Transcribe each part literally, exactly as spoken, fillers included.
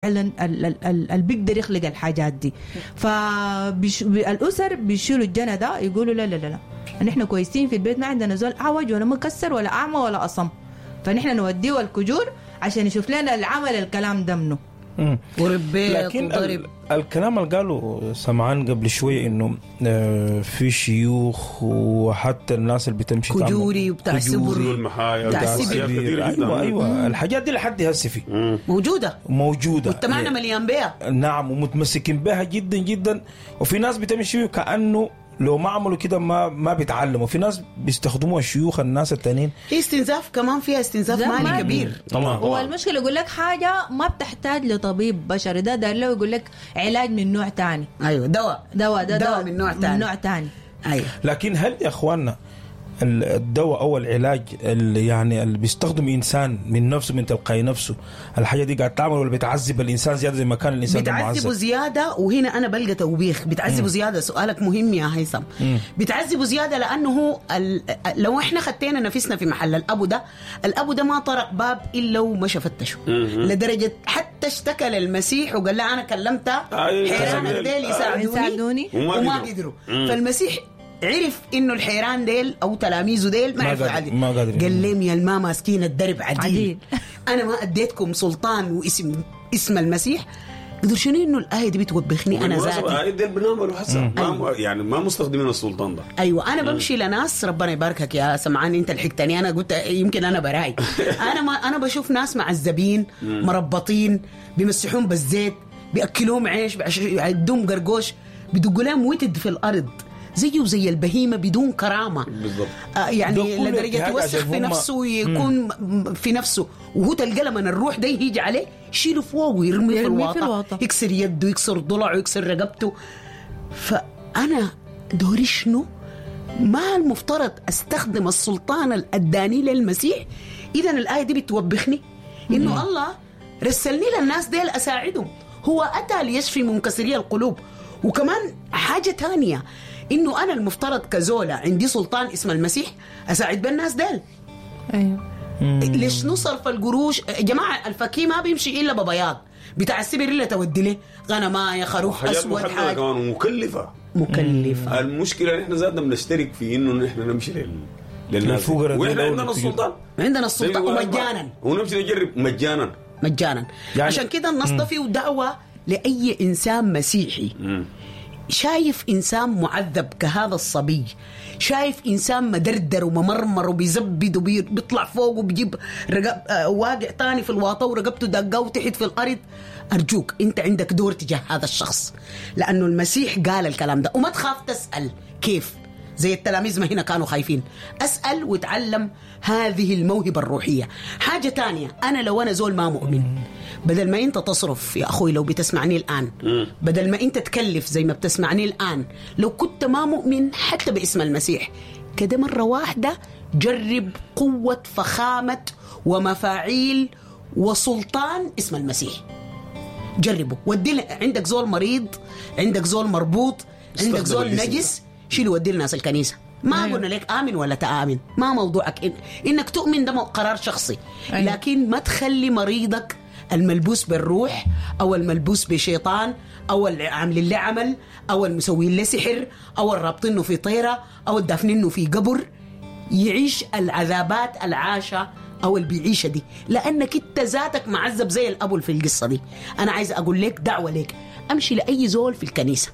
فعلا اللي بيقدر يخلق الحاجات دي. فالاسر بيشيلوا الجنى ده يقولوا لا لا لا لا نحن كويسين في البيت، ما عندنا زول اعوج ولا مكسر ولا اعمى ولا اصم، فنحن نوديه الكجور عشان يشوف لنا العمل الكلام ده منه. وربيت لكن وضرب. ال- الكلام اللي قاله سمعان قبل شوية انه آه، في شيوخ وحتى الناس اللي بتمشي تعمل كجوري وبتاع كجوري سبر. والمحايا بتاع وبتاع السبر. أشياء كثيرة جدا. ايوه ايوه الحاجات دي لحد هسه في موجودة، موجودة مجتمعنا مليان بيها. نعم، ومتمسكين بها جدا جدا. وفي ناس بتمشي كانه لو ما عملوا كده ما ما بيتعلموا. في ناس بيستخدموها الشيوخ الناس التانيين. في استنزاف كمان، فيها استنزاف ده مالي مالي. كبير. طبعا هو طبعا المشكلة يقول لك حاجة ما بتحتاج لطبيب بشري، ده دار له يقول لك علاج من نوع تاني، ايوه دواء دواء ده دواء من نوع تاني. من نوع تاني. ايوه. لكن هل يا اخواننا ال- الدواء او العلاج اللي يعني اللي بيستخدم انسان من نفسه من تلقائي نفسه، الحاجة دي قاعد تعمل ولا بتعذب الانسان زيادة زي ما كان الانسان ده بتعذبه معذب؟ زيادة. وهنا انا بلقى توبيخ، بتعذبه زيادة. سؤالك مهم يا هيثم. بتعذبه زيادة لانه هو ال... لو احنا خدينا نفسنا في محل الابو ده، الابو ده ما طرق باب الا ومشى فتشه، لدرجة حتى اشتكى للمسيح وقال له انا كلمت أيوة. حيرانك ديل يساعدوني يساعدوني. وما وما قدروا. قدروا. فالمسيح عرف انه الحيران ديل او تلاميذه ديل ما ما عرفوا قادر- يعدل. ما قادرين. قال لهم يا الما ماسكين الدرب عديل, عديل. انا ما اديتكم سلطان واسم اسم المسيح. قدر شنو انه الايه دي بتوبخني انا بالمناسبة، ذاتي. هاي ديل بنعملوا هسه ما يعني ما مستخدمين السلطان ده. ايوه انا بمشي لناس، ربنا يباركك يا سمعان انت لحقتني، انا قلت يمكن انا براي. انا ما انا بشوف ناس معذبين مربطين، بيمسحون بالزيت، بياكلوهم عيش، بعش- يعدوهم قرقوش، بدقوا لهم وتد في الارض زيه زي البهيمة بدون كرامة. بالضبط. آه ده يعني كله لدرجة اجتهاد يوسخ عشان في هم- نفسه ويكون م- في نفسه، وهو تلقى لما الروح ده يجي عليه يشيله فوق ويرميه في يرميه في الواطه، الواطة. يكسر يده، يكسر ضلعه، يكسر رقبته. فانا دوري شنو؟ ما المفترض استخدم السلطان الاداني للمسيح؟ اذا الايه دي بتوبخني انه الله رسلني للناس ديل اساعدهم، هو اتى ليشفي منكسري القلوب. وكمان حاجة تانية انه انا المفترض كزوله عندي سلطان اسم المسيح اساعد بالناس ديل. ايوه ليش نصرف القروش يا جماعة؟ الفكيه ما بيمشي الا ببياض بتاع السبر، الا تودي له غنمايه خروف حاجات اسود، محددة حاجة كمان ومكلفه. مكلفة. المشكلة نحن ذاتنا بنشترك في انه نحن نمشي لل للناس للفقراء دي واحنا لو عندنا نتيجة. السلطان، عندنا السلطة زي ما يقول ومجانا. ونمشي نجرب مجانا. مجانا يعني- عشان كده النص ده فيه دعوه لاي انسان مسيحي شايف انسان معذب كهذا الصبي، شايف انسان مدردر وممرمر وبيزبد وبيطلع فوق وبيجيب رقب آه، واقع تاني في الواطه ورقبته دقه وتحت في الارض، ارجوك انت عندك دور تجاه هذا الشخص، لانه المسيح قال الكلام ده. وما تخاف تسال كيف، زي التلاميذ ما هنا كانوا خايفين. أسأل وتعلم هذه الموهبة الروحية. حاجة تانية، أنا لو أنا زول ما مؤمن، بدل ما أنت تصرف يا أخوي لو بتسمعني الآن، بدل ما أنت تكلف زي ما بتسمعني الآن، لو كنت ما مؤمن حتى باسم المسيح كده، مرة واحدة جرب قوة فخامة ومفاعيل وسلطان اسم المسيح. جربه ودي ل- عندك زول مريض، عندك زول مربوط، عندك استخدم زول الاسم ده. نجس، شيله ودي لناس الكنيسة. ما أيوة. قلنا لك امن ولا تامن، ما موضوعك إن انك تؤمن ده قرار شخصي. أيوة. لكن ما تخلي مريضك الملبوس بالروح او الملبوس بشيطان او اللي عاملين له عمل او المسوين له سحر او الرابطينه في طيره او الدافنينه في قبر يعيش العذابات العاشة او اللي بيعيشها دي، لانك انت ذاتك معذب زي الابو اللي في القصة دي. انا عايز اقول لك دعوه لك، امشي لاي زول في الكنيسة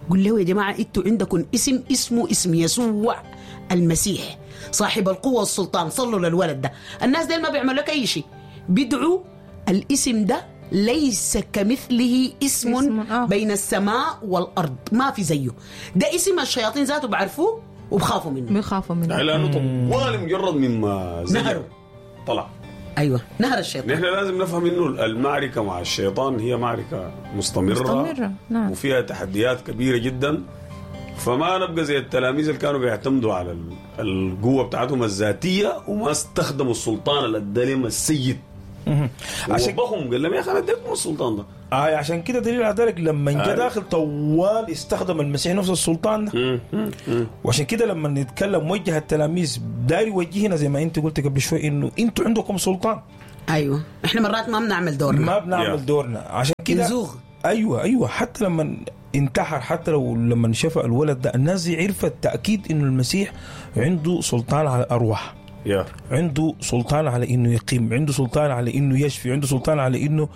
قول له يا جماعة انتوا عندكم اسم اسمه اسم يسوع المسيح صاحب القوة والسلطان، صلوا للولد ده. الناس ديل ما بيعملوا لك اي شيء، بيدعوا الاسم ده ليس كمثله اسم, اسم آخر. بين السماء والارض، ما في زيه. ده اسم الشياطين ذاته بعرفوه وبخافوا منه. بيخافوا منه. يعني لانه طوال مجرد مما زجر نهره. طلع. ايوه نهر الشيطان. نحن لازم نفهم انه المعركة مع الشيطان هي معركة مستمرة مستمرة، نعم. وفيها تحديات كبيرة جدا. فما نبقى زي التلاميذ اللي كانوا بيعتمدوا على ال- القوة بتاعتهم الذاتية وما استخدموا السلطان اللي ادى لهم السيد. عشان ووبخهم قال لهم يا اخي انا اديتكم السلطان ده. آه عشان كده دليل على ذلك لما جاء أيوة. داخل طوال استخدم المسيح نفس السلطان ده. وعشان كده لما نتكلم وجه التلاميذ داير يوجهنا زي ما انت قلت قبل شوي انه انتوا عندكم سلطان. ايوه احنا مرات ما بنعمل دورنا، ما بنعمل Yeah. دورنا عشان كده نزوغ. ايوه ايوه حتى لما انتحر، حتى لو لما شفى الولد ده، الناس دي عرفت تاكيد انه المسيح عنده سلطان على الارواح، يا عنده سلطان على انه يقيم، عنده سلطان على انه يشفي، عنده سلطان على انه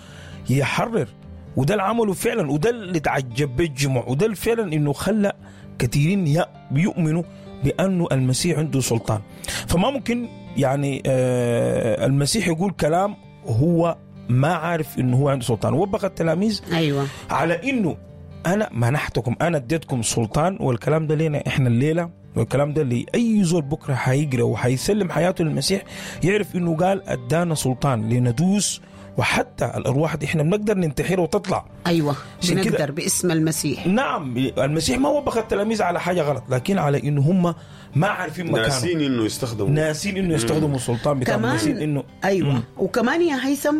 يحرر. وده اللي عمله فعلا، وده اللي تعجب به الجموع، وده اللي فعلا انه خلى كثيرين يؤمنوا بانه المسيح عنده سلطان. فما ممكن يعني آه المسيح يقول كلام هو ما عارف انه هو عنده سلطان. وبخ التلاميذ ايوه على انه انا منحتكم، انا اديتكم سلطان، والكلام ده لنا احنا الليلة، والكلام ده لاي زول بكره حيقرا وحيسلم حياته للمسيح، يعرف انه قال ادانا سلطان لندوس، وحتى الارواح دي احنا بنقدر ننتحر وتطلع. ايوه عشان كده- بنقدر باسم المسيح. نعم المسيح ما وبخ التلاميذ على حاجة غلط، لكن على انه هم ما عارفين مكانه، ناسين انه يستخدموا ناسين انه يستخدموا السلطان بتاعهم، ناسين كمان انه ايوه مم. وكمان يا هيثم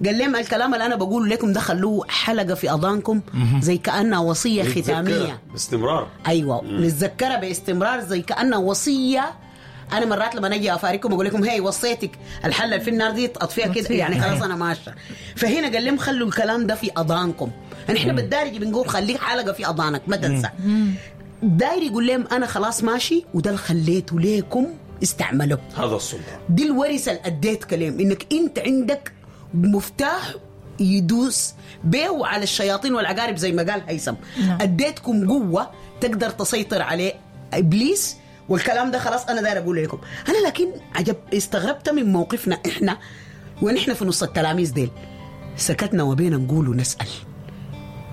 قال لهم الكلام اللي انا بقوله لكم ده خلوه حلقة في اذانكم زي كانها وصية ختامية. نتذكرها باستمرار. ايوه نتذكرها باستمرار زي كانها وصية. انا مرات لما اجي افارقكم اقول لكم هي وصيتك الحلة اللي في النار دي اطفيها كده، أطفيها. يعني خلاص انا ماشية. فهنا قال لهم خلوا الكلام ده في اذانكم. احنا بالدارج بنقول خليك حلقة في اذانك ما تنسى. داير يقول لهم انا خلاص ماشي، وده اللي خليته ليكم استعملوه. هذا السلطان دي الورثة اللي اديت كلام انك انت عندك مفتاح يدوس بيه على الشياطين والعقارب زي ما قال هيثم. نعم. اديتكم قوة تقدر تسيطر عليه ابليس، والكلام ده خلاص انا داير اقول لكم. انا لكن عجب استغربت من موقفنا احنا ونحن في نص التلاميذ ديل، سكتنا وبينا نقول ونسال.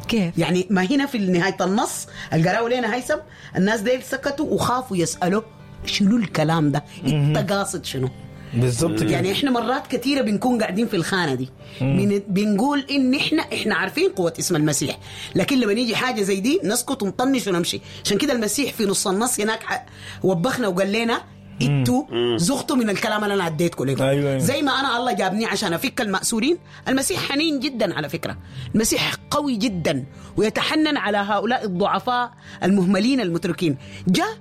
كيف؟ يعني ما هنا في نهاية النص اللي قرأوا لنا هيثم، الناس ديل سكتوا وخافوا يسالوا شنو الكلام ده، انت قاصد شنو؟ بالضبط كده. يعني احنا مرات كثيرة بنكون قاعدين في الخانة دي، بن بنقول ان احنا احنا عارفين قوة اسم المسيح، لكن لما نيجي حاجة زي دي نسكت ونطنش ونمشي. عشان كده المسيح في نص النص هناك ح- وبخنا وقال لنا انتوا زغتوا من الكلام اللي انا اديتكم لكم. أيوة، أيوة. زي ما انا الله جابني عشان افك المأسورين. المسيح حنين جدا على فكرة، المسيح قوي جدا ويتحنن على هؤلاء الضعفاء المهملين المتركين. جاء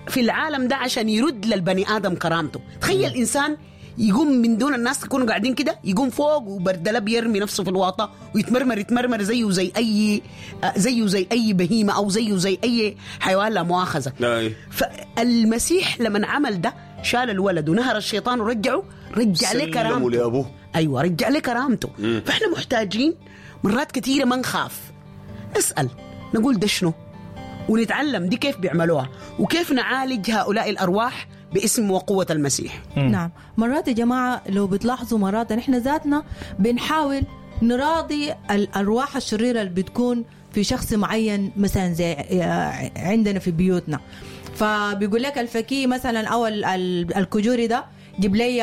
في العالم ده عشان يرد للبني ادم كرامته. تخيل انسان يقوم من دون الناس يكونوا قاعدين كده، يقوم فوق وبردلب يرمي نفسه في الواطه ويتمرمر يتمرمر زيه زي اي زيه زي اي بهيمة او زيه زي اي حيوان لا مؤاخذة. لا إيه. فالمسيح لما عمل ده شال الولد ونهر الشيطان ورجعه، رجع له سلموا كرامته. لأبوه. ايوه رجع له كرامته. فاحنا محتاجين مرات كثيرة ما نخاف، نسال نقول ده شنو، ونتعلم دي كيف بيعملوها وكيف نعالج هؤلاء الارواح باسم وقوه المسيح. نعم. مرات يا جماعة لو بتلاحظوا مرات نحن ذاتنا بنحاول نراضي الأرواح الشريرة اللي بتكون في شخص معين، مثلا زي عندنا في بيوتنا، فبيقول لك الفكي مثلا أو ال- ال- الكجوري ده جيب لي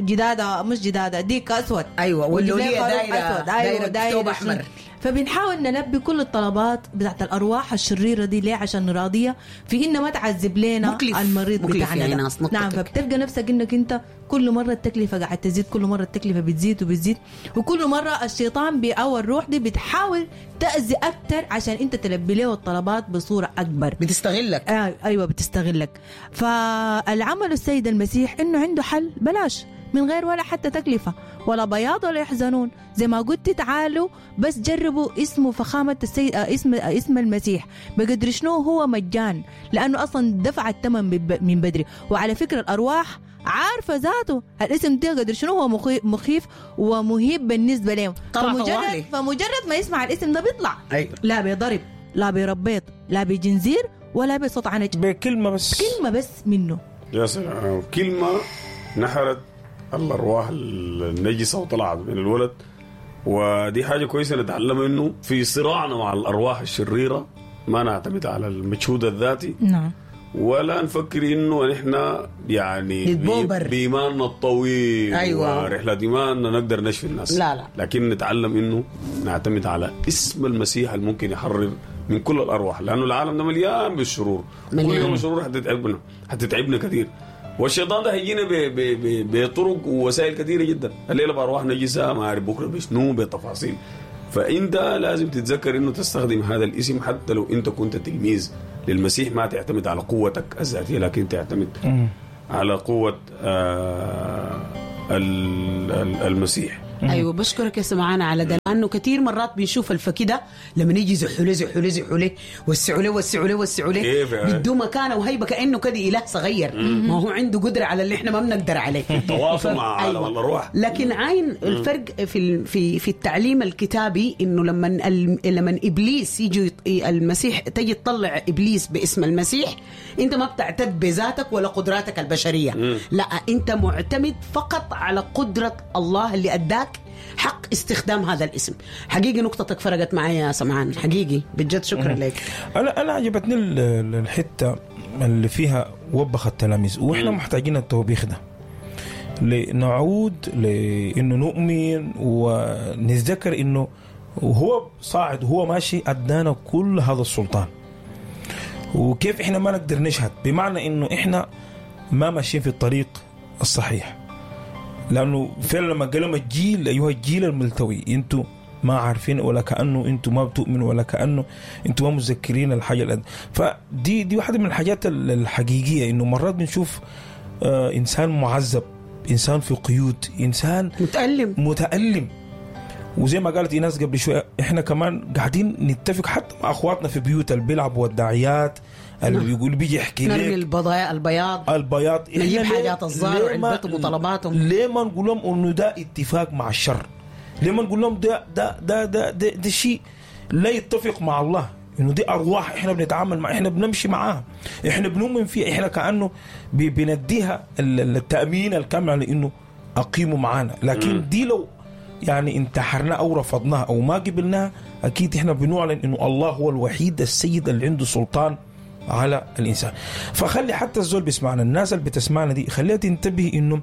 جدادة، مش جدادة، ديك أسود. أيوة، وجيب لي واللولية خروف دايرة- أسود. أيوة، دايرة دايرة ثوب أحمر. فبنحاول نلبي كل الطلبات بتاعت الارواح الشريرة دي ليه؟ عشان نراضيها في ان ما تعذب لنا مكلف. المريض مكلف بتاعنا يا ده. ناس، نطتك. نعم. فبتلقى نفسك انك انت كل مرة التكلفة قاعدة تزيد، كل مرة التكلفة بتزيد وبتزيد، وكل مرة الشيطان بي او الروح دي بتحاول تاذي اكثر عشان انت تلبي له الطلبات بصورة اكبر. بتستغلك. آه ايوه بتستغلك. فالعمل السيد المسيح انه عنده حل بلاش، من غير ولا حتى تكلفة ولا بياض ولا يحزنون. زي ما قلت تعالوا بس جربوا اسمه فخامة السيد آه، اسم آه، اسم المسيح بقدر شنو هو مجان، لأنه أصلا دفع الثمن بب- من بدري. وعلى فكرة الأرواح عارفة ذاته الاسم ده قدر شنو هو مخي- مخيف ومهيب بالنسبة لهم. طلع فمجرد طوالي. فمجرد ما يسمع الاسم ده بيطلع. أيوة. لا بيضرب، لا بيربيط، لا بجنزير، ولا بصوت عنج، بكلمه بس، كلمة بس منه. يا سلام، كلمة نحرت الأرواح النجسة وطلعت من الولد. ودي حاجة كويسة نتعلمها، إنه في صراعنا مع الأرواح الشريرة ما نعتمد على المجهود الذاتي، نعم، ولا نفكر إنه نحن يعني نتبوبر. بإيماننا الطويل أيوة. ورحلة إيماننا نقدر نشفي الناس. لا لا. لكن نتعلم إنه نعتمد على اسم المسيح اللي ممكن يحرر من كل الأرواح، لأنه العالم ده مليان بالشرور. مليان. كل يوم الشرور حتتعبنا، حتتعبنا كثير. والشيطان ده هيجينا ب- ب- ب- بطرق ووسائل كثيرة جدا، الليلة بارواح نجسة، ما اعرف بكره بشنو، بتفاصيل. فانت لازم تتذكر انه تستخدم هذا الاسم حتى لو انت كنت تلميذ للمسيح، ما تعتمد على قوتك الذاتية، لكن تعتمد على قوة آه ال- ال- المسيح. ايوه بشكرك يا سمعان على ده، لانه كثير مرات بنشوف الفكده لما يجي زحوا له زحوا له زحوا له وسعوا له وسعوا له وسعوا له كيف يعني؟ بيدوه مكانه وهيبة كانه كده اله صغير، ما هو عنده قدره على اللي احنا ما بنقدر عليه. التواصل مع عالم أيوة. الارواح. لكن عاين الفرق في ال- في في التعليم الكتابي انه لما ال- لما ابليس يجي يط- المسيح تجي تطلع ابليس باسم المسيح، انت ما بتعتد بذاتك ولا قدراتك البشرية، لا انت معتمد فقط على قدره الله اللي اداك حق استخدام هذا الاسم. حقيقي نقطتك فرقت معي يا سمعان، حقيقي بجد شكرا لك. انا انا عجبتني ال- ال- الحتة اللي فيها وبخ التلاميذ، واحنا محتاجين التوبيخ ده لنعود لانه نؤمن ونتذكر انه وهو صاعد وهو ماشي ادانا كل هذا السلطان، وكيف احنا ما نقدر نشهد، بمعنى انه احنا ما ماشيين في الطريق الصحيح. لانه فعلا لما قال لهم الجيل ايها الجيل الملتوي، انتم ما عارفين ولا كانه انتم ما بتؤمنوا ولا كانه انتم ما متذكرين الحاجة الأد... فدي دي واحدة من الحاجات ال- الحقيقية، انه مرات بنشوف آه انسان معذب، انسان في قيود، انسان متألم متألم، وزي ما قالت ايناس قبل شوية احنا كمان قاعدين نتفق حتى مع اخواتنا في بيوت اللي بيلعبوا والداعيات اللي بيقول بيجي يحكي نرمي لك البضايا البياض، البياض، إحنا نجيب ليه- حاجات الزار ليه ما- وعلبتهم وطلباتهم. ليه ما نقول لهم انه ده اتفاق مع الشر؟ ليه ما نقول لهم ده ده ده ده ده, ده شيء لا يتفق مع الله، انه دي ارواح احنا بنتعامل مع، احنا بنمشي معاها، احنا بنؤمن فيها، احنا كانه بي- بنديها ال- ال- التامين الكامل على انه اقيموا معانا. لكن دي لو يعني انتحرنا او رفضناها او ما قبلناها، اكيد احنا بنعلن انه الله هو الوحيد السيد اللي عنده سلطان على الانسان. فخلي حتى الزول بيسمعنا، الناس اللي بتسمعنا دي خليها تنتبه انه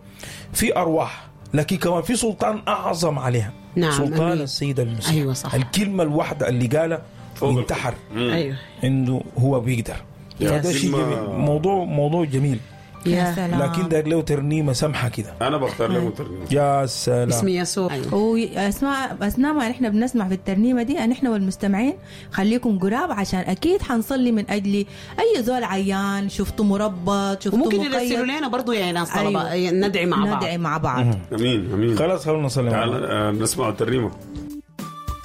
في ارواح، لكن كمان في سلطان اعظم عليها. نعم، سلطان أمين. السيد المسيح. أيوة صح. الكلمة الواحدة اللي قالها فوق انتحر، ايوه انه هو بيقدر. يا فده شيء كلمة- جميل، موضوع موضوع جميل، يا سلام. لكن ده له ترنيمة سمحه كده. انا بختار لكم ترنيمة. يا سلام. اسم يسوع. أيوة. واسماء اثناء ما نحن بنسمع في الترنيمة دي نحن والمستمعين خليكم قراب، عشان اكيد حنصلي من اجل اي زول عيان شفته مربط، شفته وممكن مقيد. يرسلوا لنا برضو يا ناس طلبه أيوة. ندعي مع بعض. ندعي مع بعض. امين امين. خلاص خلونا نصلي مع بعض. تعال آه، نسمع الترنيمة.